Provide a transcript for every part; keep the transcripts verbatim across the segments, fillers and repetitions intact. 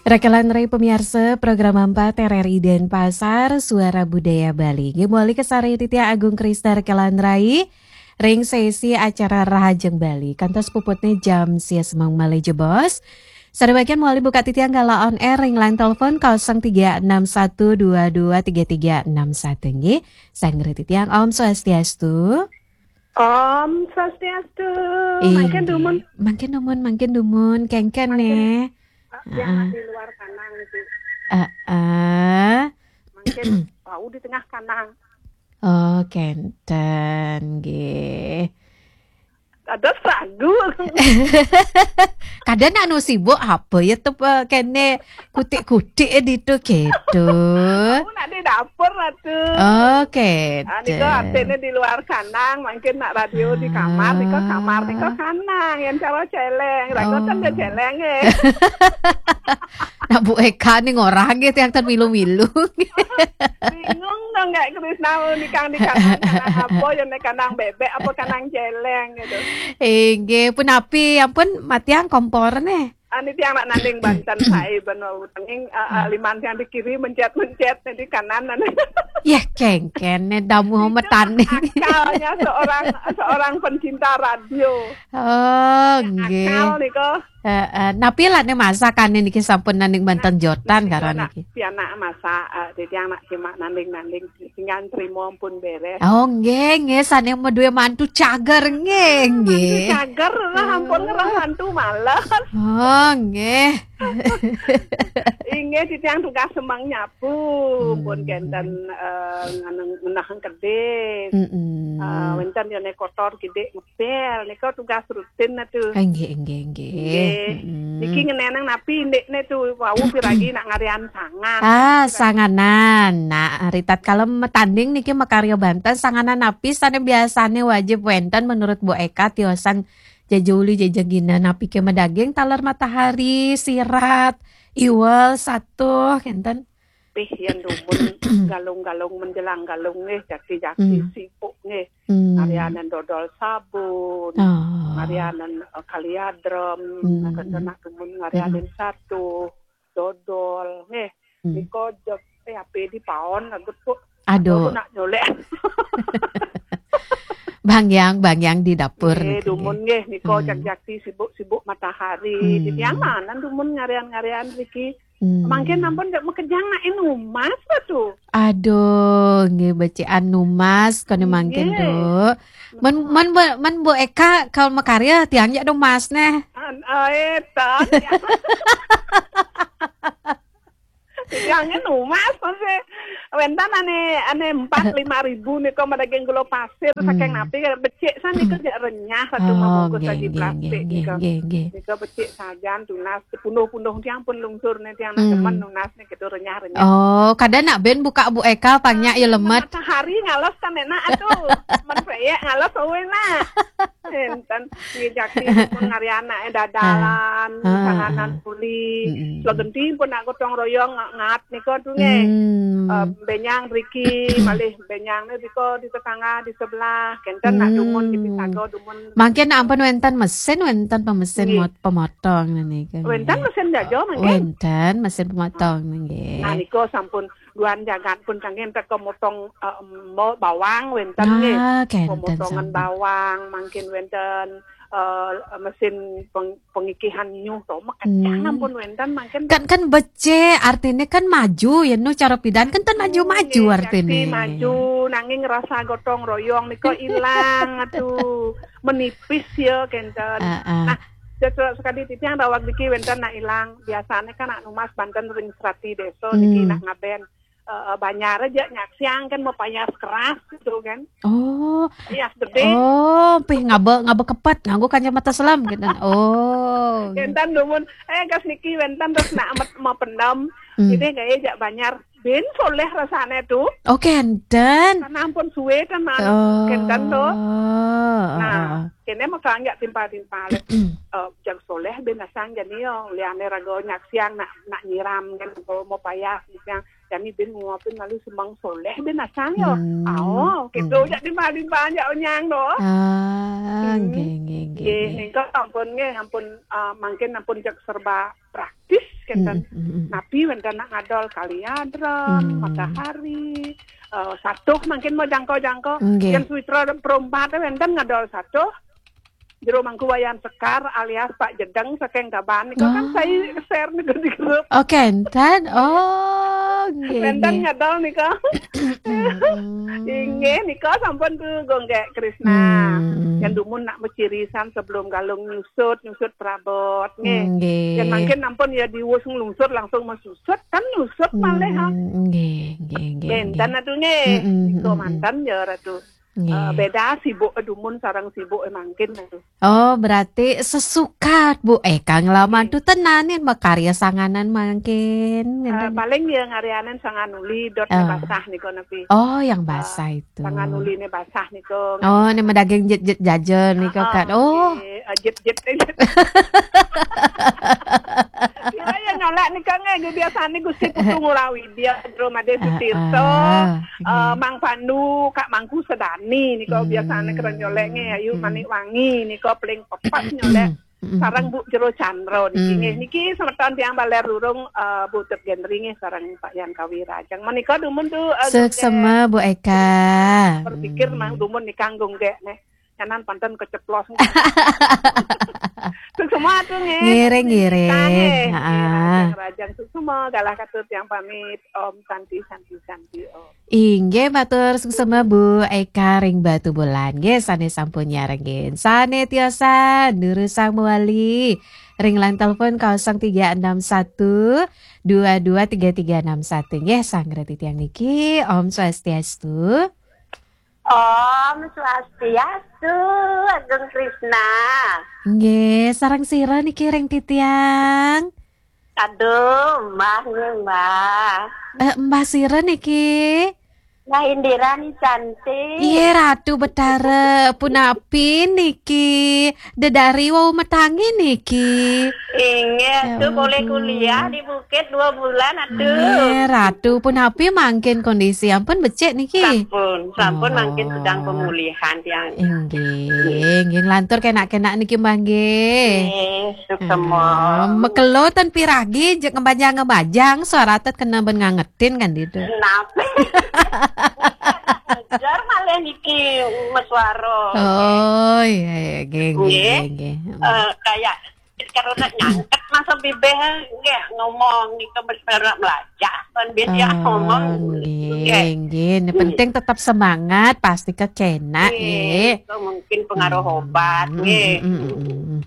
Rekelan Rai pamiarsa, program empat R R I Denpasar, Suara Budaya Bali. Nggih, mawali kasarengin titiang Agung Krista Rekelan Rai ring sesi acara Rahajeng Bali. Kantos puputne jam sia semeng malih jebos. Sané bagian mawali buka titiang galah on air ring line telepon kosong tiga enam satu dua dua tiga tiga enam satu, nggih. Sareng titiang, Om Swastiastu. Om Swastiastu. Mangkin dumun. Mangkin dumun, mangkin dumun, kengken. Mangkin, nggih. Ah, yang heeh. Di luar kanang itu. Heeh. Mangkin wau di tengah kanang. Oh, kenten, nggih. Ada sagu. Kadang anu sibuk apa ya tu, eh, kene kutik-kutik, eh, ditu gitu. Aku nak di dapur lah tu. Oh, kenten. Ah, nika artine di luar kanang, mangkin nak radio di kamar, nika kamar, nika kanang, yang cara celeng, ragotan dia celeng, eh. Nah, Bu Eka nih ngorang gitu yang termilu-milu. Bingung dong, Kak Krisna, mau nikang di kanang, kanang apa, yang naik kanang bebek, apa kanang celeng gitu. Inggih, punapi, ampun, matiang kompor nih. Ani tiang nak nanding banten sae ben wau tenging, eh, eh, liman tiang di kiri mencet-mencet, di kanan. Ya, kengken nih damu metan nih. Akalnya seorang, seorang pencinta radio. Oh, nggih. Akal nih kok. Heeh, napi lane masakane niki sampun nanding banten jotan karo niki. Pianak masak, eh, dadi anak simak nanding-nanding, tinggal trimo pun beres. Oh, nggih, nggih, sane maduwe mantu cager, nggih, nggih. Mantu cager, lah, ampun, ngerah mantu males. Oh, nggih. Inggih, titiang tugas semeng nyapu, pun kenten, eh, ngeneng, ngenah kedis. Mm-mm. Eh, wenten yone kotor kidik ngepel, nika tugas rutin atu. Ah, nggih, nggih, nggih. Nggih. Mm-mm. Niki ngenenang napi ndikne tu, wau piragi nak ngarian sangan. Ah, sanganan. Nah, ritatkala matanding niki makarya banten, sanganan napi sane biasane wajib wenten menurut Bu Eka tiosan jejuli jejegina, napi ke madaging taler matahari, sirat, iwel, satuh, kenten. Pih, yen dumun galung-galung menjelang galung nggih, jaki-jaki sibuk nggih. Hmm. Ngarianen dodol sabun, oh, ngarianen, eh, kaliadrem, hmm, kenten nak dumun ngarianen satuh, dodol nggih. Hmm. Nika jeg, eh, ape di paon lagut, Bu. Aduh. Aku nak nyolek. Bang Yang, Bang Yang di dapur nggih, niki. Dumun nggih, nika, hmm, jaki-jaki sibuk-sibuk matahari. Hmm. Titiang manan dumun ngarian-ngarian niki. Hmm. Mangkin ampun ndak makejang nak numas tu. Aduh, nggih, becik anu mas kene mangkin, nggih, Du. Men, men, Bu, men Bu Eka kalau makarya tiang jak numas neh. An-, eh, tan, ya. Tiang numas masih. Wenten ane, ane empat lima ribu nika madaging gula pasir, hmm, saking napi becik sanika jak renyah satu, oh, mabungkus nggih, lagi nggih, plastik nggih, nika. Nggih, nggih. Nika becik sajan tunas, punduh-punduh tiang pun lungsur nih, tiang nak, hmm, demen nunas nih gitu, renyah-renyah. Oh, kadang nak ben buka Bu Eka pang nyak ya lemet. Matahari ngales kan enak atuh. Men peyek ngales, oh, enak. Enten, nggih, jaki pun ngari anake dadalan, ah, ah, sanganan, ah, kuli. Mm-mm. Legenti pun nak gotong royong nga-, ngat nika tu nggih. Hmm. Eh, benyang riki, malih benyang nika di tetangga di sebelah. Kenten nak dumun, hmm, di pisaga dumun. Mangkin ampun wenten mesin, wenten pemesin, nggih, mot-, pemotong nika, wenten nggih. Mesin jaja mangkin. Wenten mesin pemotong nggih. Nah, nika sampun duan jagat pun kangge teka motong, eh, mo-, bawang wenten nggih. Ah, kenten. Pemotongan sampun. Bawang mangkin wenten, eh, mesin peng-, pengikihan nyuh to, makejang, hmm, ampun wenten mangkin. Kan, kan becik, artine kan maju ya, nu cara pidan kan ten maju-maju, hmm, nggih, artine. Pasti maju, nanging rasa gotong royong nika ilang, aduh, menipis ya, kenten. Ah, ah. Nah, sesuai sekali titiang daweg niki wenten nak ilang. Biasane kan nak numas banten ring serati desa niki, hmm, nak ngaben, eh, eh, banjar aja nyaksiang kan mapayas keras gitu kan. Oh. Payas gede. Oh, pih ngaba, ngaba kepet nganggo kacamata selam gitu. Oh. Kenten dumun, eh, kas niki wenten terus nak amet mapendem. Hmm. Jadi gaya jak banjar. Ben soleh rasane tu. Oh, kenten. Karena ampun suwe kan, man. Oh. Kenten tu. Nah, oh, kene maka nggak timpal-timpal. Eh, jag soleh ben asang jani yo. Liane raga nyaksiang nak, nak nyiram kan, kalau mapayas nyaksiang. Jani ben nguapin lalu semeng soleh ben asang yo. Hmm. Oh, gitu. Hmm. Jak timpal-timpal jak onyang tu. Ah, hmm, nggih, nggih, nggih, nggih, nggih. Nggih, nika ampun nggih, ampun, eh, mangkin ampun jag serba praktis. kenten. Mm, mm, mm. Napi wenten nak ngadol Kaliadrem, Hmm. Matahari, eh, Satuh mangkin mau jangko-jangko. Nggih. Yen Suwitra Perumpat wenten ngadol Satuh. Jero Mangku Wayan Sekar alias Pak Jedeng saking Tabanan nika kan Oh. Saya share nika di grup. Oh, kenten. Oh, nggih, Wenten nggih. Ngadol nika. Mm-mm. Inggih, nika sampun tuh Gonggek Krisna. Hmm. Yang dumun nak becirisan sebelum galung nyusut, nyusut perabot, nggih. Nggih. Yang mangkin ampun ya diwus nglungsur langsung mesusut, kan nyusut malih, ha. Hmm, nggih, nggih, nggih, Benten nggih. Atuh, nggih. Mm-mm, Nika mm-mm. Manten ya, Ratu. Nggih. Eh, beda sibuk dumun sareng sibuk mangkin, Ratu. Oh, berarti sesukat, Bu. Eh, Kang Laman tuh tenanin makarya sanganan mangkin. Eh, Ngenten. Paling ya ngarianen Sanganuli, dot Oh. Basah nika napi. Oh, yang Eh, basah itu. Sanganuli ne basah nika. Oh, ne medaging jet-jet jaja nika Ah, kan. Oh. Nggih. Eh, jet-jet. Kira ya nyolek nika nggih, nggih biasane Gusti Putu Ngurah Widya, Jero Made Ah, Sutirta, ah, eh, nggih. Mang Pandu, Kak Mangku Sedani nika biasane keren nyolek nggih, Ayu Hmm. Manik Wangi nika paling pepes nyolek. Mm-mm. Sareng Bu Jero Chandra niki Hmm. nggih. Niki semeton tiang Baler Rurung, eh, Bu Tut Gendri nggih sareng Pak Yan Kawirajeng. Menika dumun tuh, eh, Suksema, Bu Eka. Berpikir Hmm. mang dumun nika nggonggek neh. Nyanan panten keceplos. Suksema tuh nggih. Ngiring, ngiring. Nggih, Heeh. Rajang, Rajang. Suksema galah katur tiang pamit. Om Santi, Santi, Santi, Om. Inggih, matur suksema Bu Eka ring Batubulan. Nggih, sane sampun nyarengin. Sane tiosan, durusang mawali. Ring line telepon kosong tiga enam satu, dua dua tiga tiga enam satu. Nggih, sareng titiang niki, Om Swastiastu. Om Swastiastu, Agung Krisna. Nggih, sareng sira niki ring titiang? Aduh, Mbah nggih, Mbah. Eh, Mbah sira niki? Mbah Indira ni cantik. Iya, Ratu Betara. Punapi niki? Dedari wau metangi niki. Inggih, Ya tuh boleh ampun. Kuliah di Bukit dua bulan, aduh. Nggih, Ratu. Punapi mangkin kondisi? Ampun becik niki? Sampun, sampun mangkin sedang Oh. Pemulihan tiang. Inggih, nggih nglantur kenak-kenak niki, Mbah, nggih. Nggih, suksema. Ah, mekelo ten piragi, jek ngembajang-ngembajang, suara tet kena ben ngangetin kan ditu. Napa? Ngejar malih niki meswara. Oh, iya, iya, nggih, nggih, Nggih. Nggih, nggih. Eh, kayak karo nak nyangket masa bibih nggih ngomong nika meswara melajah, kan biasa Oh, ngomong. Nggih, Nggih. Nggih. Ini Nggih. Penting tetap semangat, pasti kekenak, Nggih, nggih. Itu mungkin pengaruh Hmm. obat, Hmm, nggih. Hmm, hmm, hmm, hmm.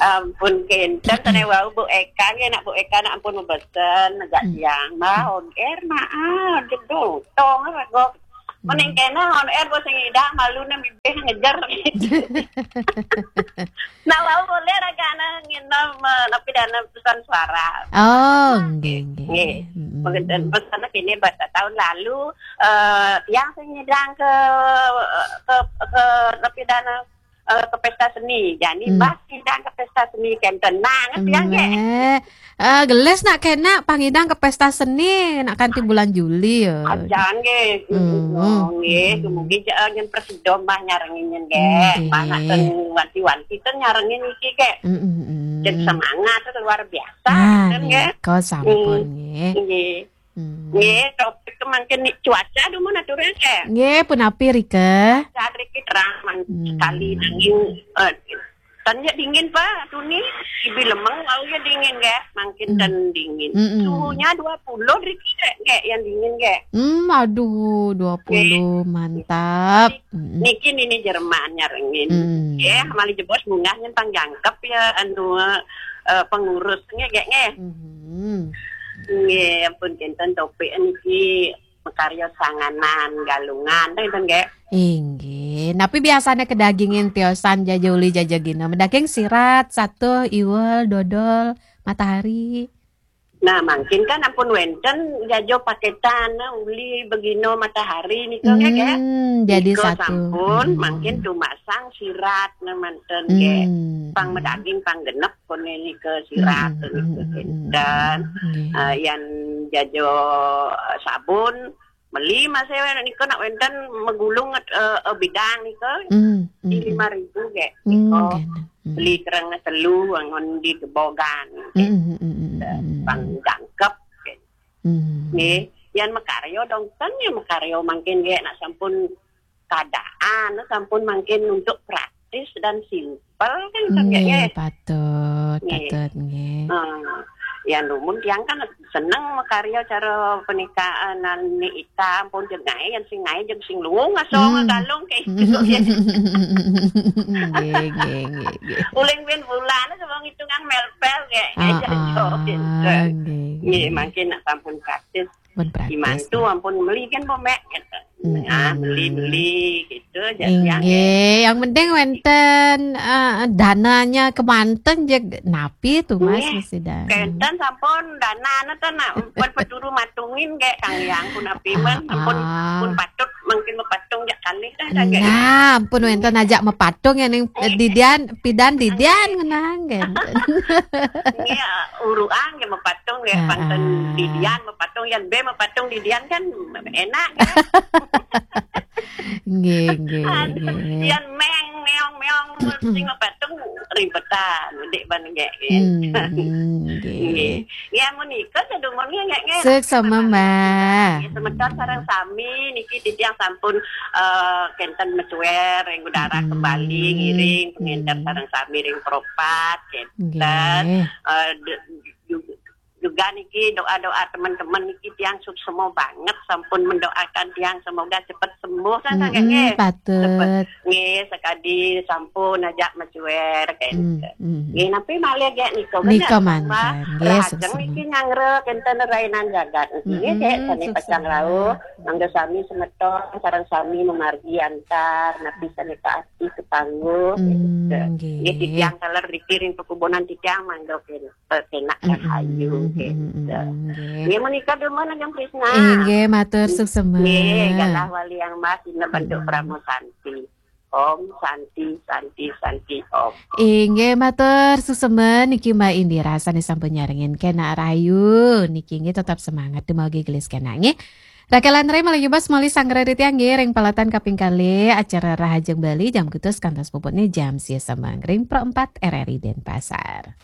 Ampun, kenten, tane wau Bu Eka, nggih, nak Bu Eka, nak ampun mebesen, negak Hmm. Siang, Mbah, on air, maaf, jedong, tong, rego. Mending Hmm. kena on air, bos ngidang, malu, nang bibih ngejer. Nah, wau boleh, ragana, nginem, eh, napi dana pesan suara. Oh, nggih, nggih. Nggih. Hmm. Mungkin pesan kene, bata tahun lalu, eh, tiang sing ngidang ke, ke, ke, napi dana, eh, ke pesta seni. Jani Hmm. Mbah ngidang ke pesta seni kenten. Nah, ngerti ya, nggih? Eh, eh, gelis nak kena pangidang ke pesta seni nak kanti bulan Juli ya. Aja nggih. Hmm. Nggih, Hmm. Kemudian, eh, yang presido Mbah nyarengin nggih. Nggih. Mbah nak ten wanti-wanti ten nyarengin iki, nggih. Hmm, hmm, hmm. Dan semangat tuh luar biasa, Ah, kan, nggih, nggih? Kau sampun, Hmm. Nggih. Nggih. Hmm. Nggih, topik kemangkin ni cuaca dumun aturnya, nggih. Nggih, punapi rika? Saat riki terang man Hmm. Sekali nanging, eh, tanya dingin, Pak, tuni. Ibi lemeng, wau ya dingin, nggih. Mangkin Hmm. Ten dingin. Hmm, hmm. Suhunya dua puluh riki, nggih, nggih, yang dingin, nggih. Hmm, aduh, dua puluh, Nggih. Mantap. Hmm. Niki nini Jerman nyarengin. Hmm. Nggih, mali jebos munggah nyen pang jangkep ya, anu, eh, pengurus, nggih, nggih, nggih. Hmm. Nggih, ampun kenten topik niki makarya sanganan, galungan, ten, nggih. Inggih. Napi biasane kedagingin tiosan jaja uli jaja gina? Medaging sirat, satuh, iwel, dodol, matahari. Nah, mangkin kan ampun wenten jaja paketan, nah, uli begino matahari nika, nggih, nggih. Hmm, jadi Nika satu. Sampun, Hmm. Mangkin tumasang sirat, nah, manten, nggih. Hmm. Pang medaging, pang genep, kone nika sirat, Hmm, hmm, nika hmm, hmm, hmm, kenten. Hmm, nggih. Eh, yan jaja, eh, sabun, meli masih nika nak wenten megulung, eh, eh, bidang nika. Hmm, hmm, hmm. Di lima ribu, nggih. Hmm, nika. Nggih, nah. Beli kereng telu angon di Gebogan. Mm, mm, mm, mm, mm. Bang jangkep. Mm. Nggih, yan makarya dongten ya makarya mangkin nggih nak sampun keadaan, sampun mangkin untuk praktis dan simpel kan, nggih, nggih, nggih. Patut, nggih, patut, nggih. Eh, yan dumun tiang kan seneng makarya cara pernikahan ni ita ampun jeg ngae, yan sing ngae jeg sing luung aso. Hmm. Ngegalung kayak gitu, ya. Nggih, nggih, nggih, nggih. Uling bin bulan sama ngitungan melpel kayak. Ah, aja ah, jo, gitu. Nggih, nggih, nggih, nggih. Mangkin nak sampun praktis. Pun praktis, dimantu ya. Ampun meli kan, Bu Mek, gitu. Mm-mm. Ah, beli-beli gitu aja. Inggih, yang penting wenten, eh, dananya kemanten jeg napi tu, Mas, nggih, mesti dah. Kenten sampun dana neten nak pun peturu matungin kayak Kang Yang pun api men, ah, ampun, ah, pun patut mungkin mepatung jak kalih dah, dah, kayak. Nah, ampun wenten ajak mepatung ya ning, eh, didian, pidan didian ngenang kenten. Nggih, uruan ya mepatung ya, ah, panten ah. Didian mepatung, yan be mepatung didian kan enak, kan? Nggih, nggih, aduh, nggih. Yan meng, meong, meong, sing mepatung ribetan, dik ban nggih. Hmm, hmm, nggih. Nggih. Ya, menika sedumun nggih, nggih, nggih. Suksma, Mbak. Nggih, semeton sareng sami niki titiang sampun, eh, kenten mecuer ring udara kembali, ngiring pengenter sareng sami ring propat, kenten. Nggih. Eh, de-, ju-, juga niki doa-doa teman-teman niki tiang suksma banget sampun mendoakan tiang semoga cepet sembuh kan, nggih. Patut. Cepet. Nggih, sakadi sampun ajak mecuer, kenten. Hmm, hmm. Nggih, nampi malih gek nika, nika bener, mangkin. Mbak. Nggih, rahajeng suksma. Niki nyanggra kenten rainan jagat. Nggih, mm-mm, gek sami suksma. Pacang rauh, mangga sami semeton, sareng sami memargi antar, napi sami kaati katangguh, hmm, gitu. Nggih. Nggih, titiang taler riki ring pekubunan titiang mangga kenten, penak dan, mm-mm, ayu, mm-mm, gitu. Nggih. Nggih, menika dumun Ajeng Krisna. Inggih, matur suksma. Nggih, galah wali yang mas, ina bentuk, mm-mm, parama santi. Om Santi, Santi, Santi, Om. Inggih, matur suksma niki Mbak Indira sané sampun nyarengin Kenak Rahayu. Niki nggih tetap semangat dumawi gelis kenak nggih. Rakelan rai malih bas malih sanggra riti nggih ring palatan kaping kalih acara Rahajeng Bali jam kutus kantos puputné jam sia semeng ring Pro empat R R I Denpasar.